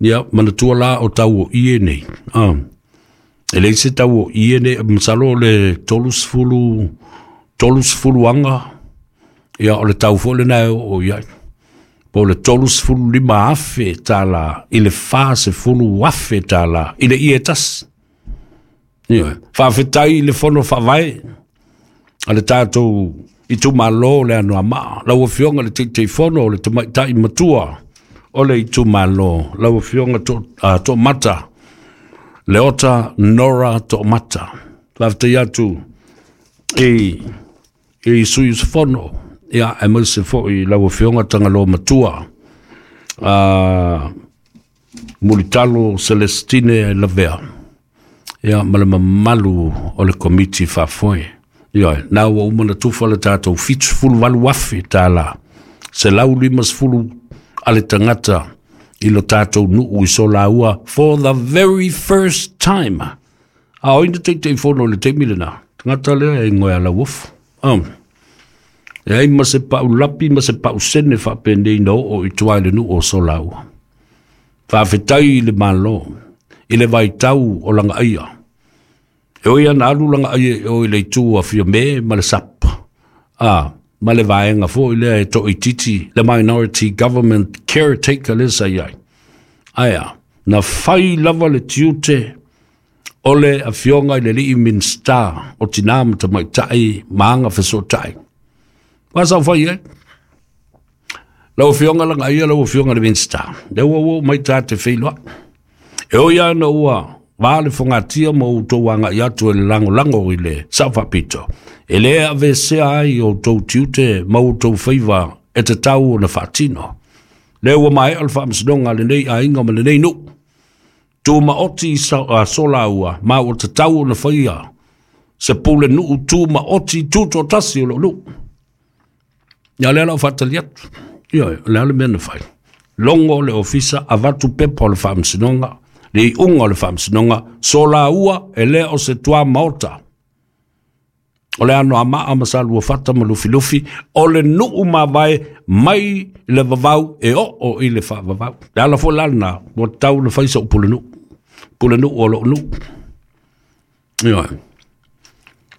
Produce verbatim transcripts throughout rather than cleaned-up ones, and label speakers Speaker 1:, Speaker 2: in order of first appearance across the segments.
Speaker 1: Ia, manatua la o tau o ie nei. Ah. E leai se tau o ie nei, masalo o le tolusefulu, tolusefulu aga, ia o le tau foi lena e oo i ai. Po o le tolusefulu lima afe tala i le fasefulu afe tala i le ie tasi. Ia, faafetai i le fono faavae a le tatou itumalo le Anoamaa. Lau Afioga le Taitaifono o le Tamaitai Matua o le itumalo, lau Afioga to, uh, Toomata, Leota Nora Toomata. Faafetai atu i, i sui usufono, ia, aemaise foi lau Afioga Tagaloa Matua, uh, Mulitalo Celestine Lavea, ia, ma le mamalu o le komiti faafoe. Ia, na ua uma na tufa le tatou fitusefulu valu afe tala, selau limasefulu a le tagata i lo tatou nuu i Solaua for the very first time. A o ina Taitaifono i le taimi lena, tagata lea e igoa ia Lauofo. Um, e ai ma se pau lapi ma se pau sene faapenei na oo i tua i le nuu o Solaua. Faafetai i le Malo, i le vaitau o Lagaia. E oi ana alu Lagaia e o i le itu a Fiame ma le S A P. Ah, ma le vaega foi lea e toaitiiti, le minority government caretaker le sa i ai. Aia, na fai lava le tiute o le afioga i le alii Minisita o Tina ma Tamaitai ma Agafesootai. Ua sau fai ai. Lau Afioga Lagaia, lau Afioga le Minisita, lea ua ua mai ta te feiloai. E oi ana ua va le fogatia ma outou agai atu e le lagolago i le Sao Faapito. E le avesea ai outou tiute ma outou faiva e tatau ona faatino. Lea ua maea le faamasinoga a lenei aiga ma lenei nuu. Tumaoti uh, Solaua ma ua tatau ona faia se pule nuu tumaoti tutoatasi o lou nuu. Ia lea lau faatali atu. Ia, o le a le mea na fai? Logo le ofisa, avatu pepa o le faamasinoga, le iuga o le faamasinoga, Solaua e le o se tua maota. O le Anoamaa ma Saluafata ma Lufilufi, o le nuu mavae mai le vavau e oo i le faavavau. Le ala foi la lena, ua tau na fai sou pulenuu. Pulenuu o lou nuu. Ia.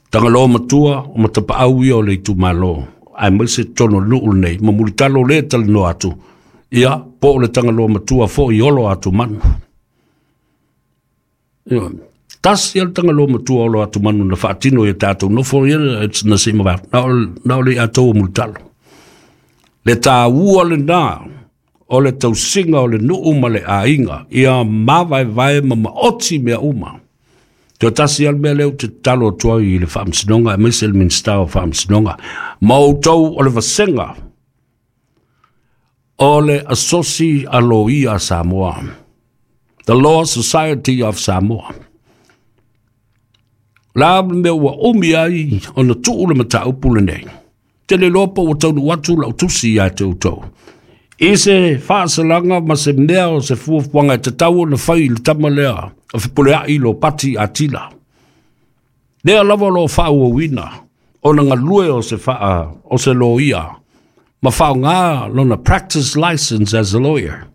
Speaker 1: Tagaloa Matua o matapaau ia o le itumalo, aemaise totonu o le nuu lenei, ma Mulitalo le talanoa atu, ia, po o le Tagaloa Matua foi Olo Atumanu. Ia. Tasi le Tagaloa Matua Olo Atumanu na faatino i tatou nofo ia na se ma na o na o le atou o Mulitalo. Le taua lena o le tausiga o le nuu ma le aiga, ia mavaevae ma maoti mea uma. Toe tasi lava le mea lea ou te tatalo atu ai i le Faamasinoga, aemaise le Minisita o Faamasinoga, ma outou o le vasega o le Asosi a Loia a Samoa, The Law Society of Samoa. La le mea ua umi ai ona tuu le mataupu lenei. Te le iloa po ua taunuu atu lau tusi ia te outou. I se faasalaga ma se mea o se fuafuaga e tatau ona fai i le tama lea o Fepuleai Lopati Atila. Lea lava o lo o faaauauina ona galue o se, faa, o se loia ma faaaoga lona practice license as a lawyer.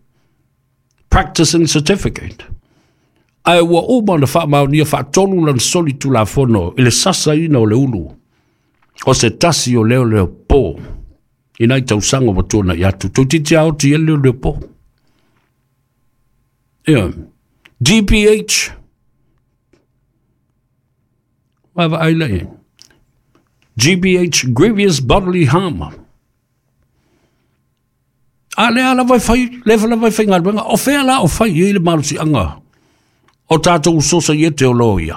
Speaker 1: Practicing certificate. Ae ua uma ona faamaonia faatolu lana soli tulafono i le sasaina o le ulu o se tasi o leo leo po i nai tausaga ua tuanai atu. Toeitiiti aoti e leo leo po. Ia. G B H. Vaavaai la i. G B H, grievous bodily harm. A lea lava e fai, lea lava e faigaluega. O fea la o fai i le malosiaga o tatou sosaiete o loia?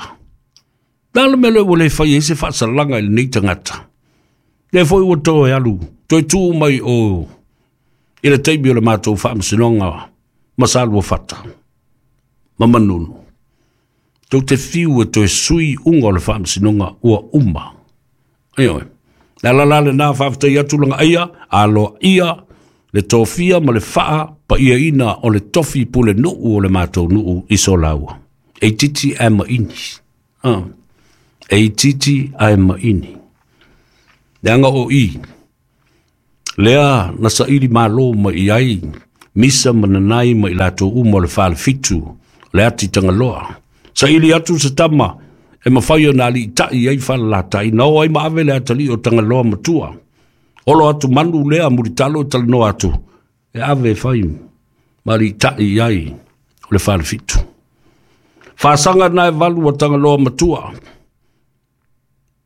Speaker 1: La le mea lea ua le fai ai se faasalaga i lenei tagata. Lea foi ua toe alu, toe tuu mai o i le taimi o le matou faamasinoga ma Saluafata ma Manunu. Tou te fiu e toe sui uga o le faamasinoga ua uma. Ioe. Le ala la lena, faafetai atu Lagaia, aloaia le tofia ma le faapaiaina o le tofi pule nuu o le matou nuu i Solaua. E itiiti ae maini. Ah. E itiiti ae maini. Leaga o i, lea na saili malo mai ai Misa mananai ma i latou uma o le falefitu le ati Tagaloa. Saili atu se tama e mafai ona aliitai ai falalatai na o ai ma ave le atalii o Tagaloa matua. Olo atu manu lea mulitalo e talanoa atu e ave e fai ma aliitai ai o le falefitu. Fasaga na e valu o Tagaloa matua.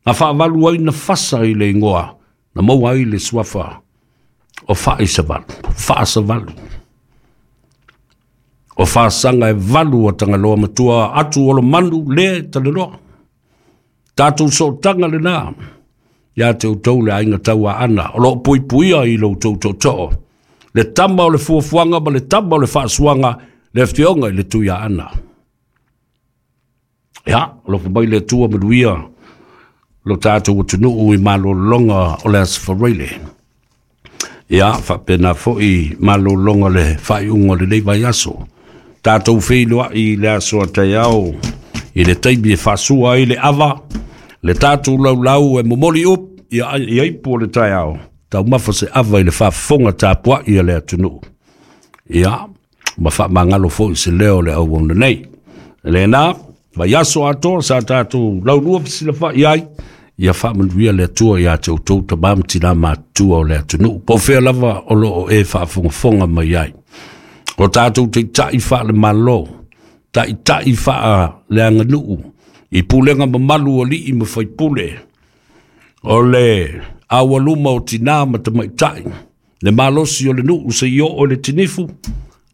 Speaker 1: Na faavalu ai na fasa i le ingoa na maua ai le suafa o Faaisavalu, Faasavalu. O fasaga e valu o Tagaloa matua atu olo manu le talanoa. Tatou sootaga lena ia te outou le aiga tauaana o loo puipuia i lo outou tootoo. Le tama o le fuafuaga ma le tama o le faasuaga le afioga i le Tuiaana. Ia, alofa mai le Atua manuia lo tatou atunuu i malologa o le Aso Faraile. Ia, faapena foi malologa le faaiuga o lenei vaiaso. Tatou feiloai i le aso a taeao i le taimi e faasua ai le ava, le tatou laulau e momoli up ia i aipu o le taeao, taumafa se ava i le faafofoga tapuai a le atunuu. Ia, ma faamagalo foi se leo o le auauna nei. Lena, vaiaso atoa sa tatou laulua fesilafai ai, ia faamanuia le Atua ia te outou tama ma tina matutua o le atunuu. Po o fea lava o lo o e faafogafoga mai ai. O tatou taitai faale-Malo, taitai faaleaganuu, i pulega mamalu o alii ma faipule, o le aualuma o tina ma tamaitai, le malosi o le nuu seia oo i le tinifu,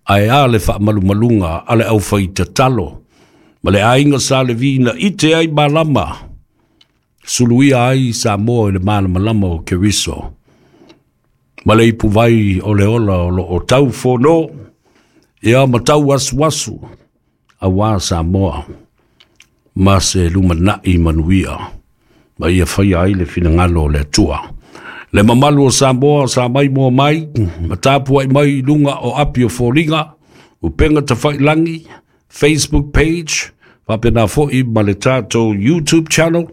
Speaker 1: ae a le faamalumaluga a le aufaitatalo, ma le aiga sa Levi na ite ai malama, suluia ai Samoa i le malamalama o Keriso. Ma le ipuvai o le ola o lo o tau fono, ia ma tau asuasu, auā Samoa, ma se lumanai manuia, ma ia faia ai le finagalo o le Atua. Le mamalu o Samoa sa mai moa mai, ma tapuai mai i luga o api o foliga, upega tafailangi, Facebook page, faapena foi ma le tatou YouTube channel,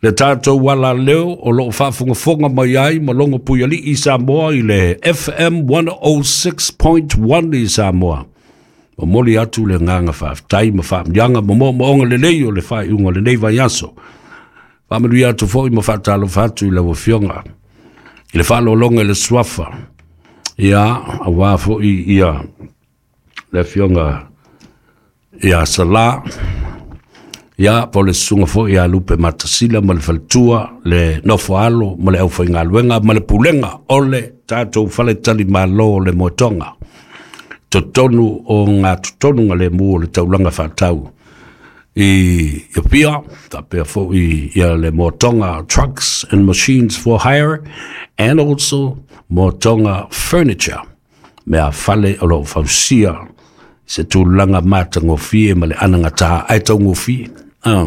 Speaker 1: le tatou alaleo o loo faafogafoga mai ai ma logo puialii Samoa i le F M one oh six point one i Samoa. Momoli atu le agaga faafetai ma faamanuiaga ma moomooga lelei o le faaiuga o lenei vaiaso. Faamanuia atu foi ma faatalofa atu i lau afioga i le faalologa i le suafa, ia auā foi ia le afioga ia Sala, ia po le susuga foi ia Lupe Matasila ma le faletua, le nofoalo ma le aufaigaluega ma le pulega o le tatou faletalimalo o le Moetoga. Totonu o ngā totonu ngā le mu o le taulaga faatau i Apia, faapea foi ia le Moetoga Trucks and Machines for Hire and also Moetoga Furniture, mea fale o loo fausia se tulaga matagofie ma le anagata ae taugofie ah,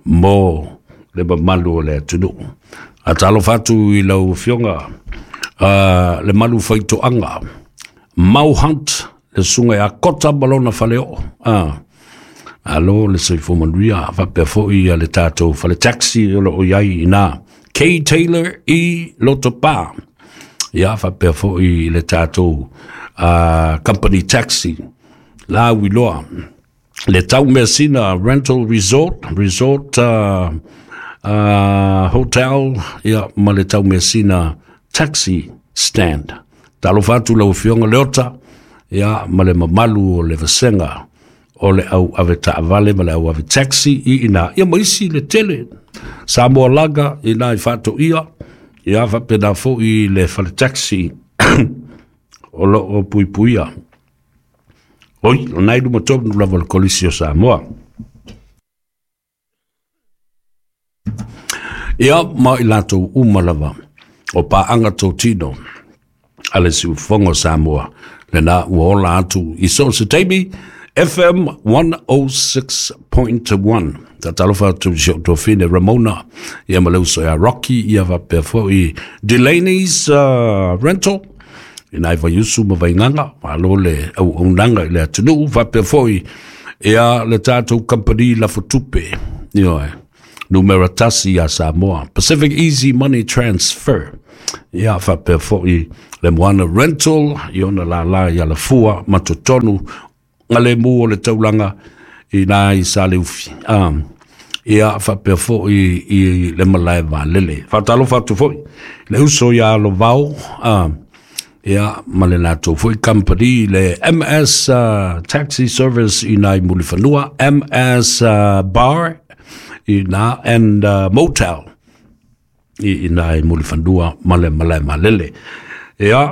Speaker 1: mo le mamalu o le atunuu. Atalofa atu i lau afioga uh, le malu faitoaga Mau Hunt, le susuga ia Kota ma lona faleoo. Ah, alo le soifua manuia, faapea foi ia le tatou fale taxi o loo i ai ina K Taylor i Lotopa. Ia faapea foi le tatou uh, company taxi la Wiloa. Le tau measina rental resort, resort uh, uh, hotel, ia ma le tau measina taxi stand. Talofa atu lau afioga Leota, ia ma le mamalu o le vasega o le au ave taavale ma le au ave taxi i ina. Ia ma isi le tele Samoa Laga ina i faatoia, ia faapena foi le fale taxi o loo puipuia. Oi, o nai luma tonu lava le kolisi o Samoa. Ia ma i latou uma lava o paanga totino a le siufofoga o Samoa, lena ua ola atu i so o se taimi F M one oh six point one. Tatalofa atu i si o tofine Ramona, ia ma le uso ia Rocky, ia faapea foi Delaney's uh, Rental, ina i Vaiusu ma Vaigaga, malo le auaunaga i le atunuu, faapea foi ia le tatou company lafotupe, ioe, Numera tasi ia Samoa. Pacific Easy Money Transfer. Ia faapea foi le Moana Rental i ona lala i Alafua ma totonu galemu o le taulaga i na i Saleufi. Um, ia faapea foi i le malae vaalele. Faatalofa atu foi le uso ia Alovao, um, ia ma le latou foi company le M S uh, Taxi Service i nai Mulifanua, M S uh, Bar i na and uh, Motel i, i nai Mulifanua ma le malae vaalele. Ia,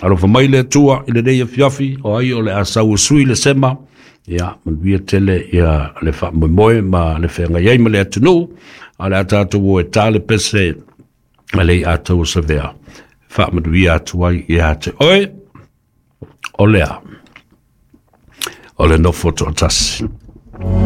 Speaker 1: alofa mai le Atua i lenei afiafi, o ai o le asau o sui le sema, ia, manuia tele ia le faamoemoe ma le feagai ai ma le atunuu, a le a tatou o e tā le pese a le atou o savea. Faamanuia atu ai ia te oe, o lea, o le nofo toatasi.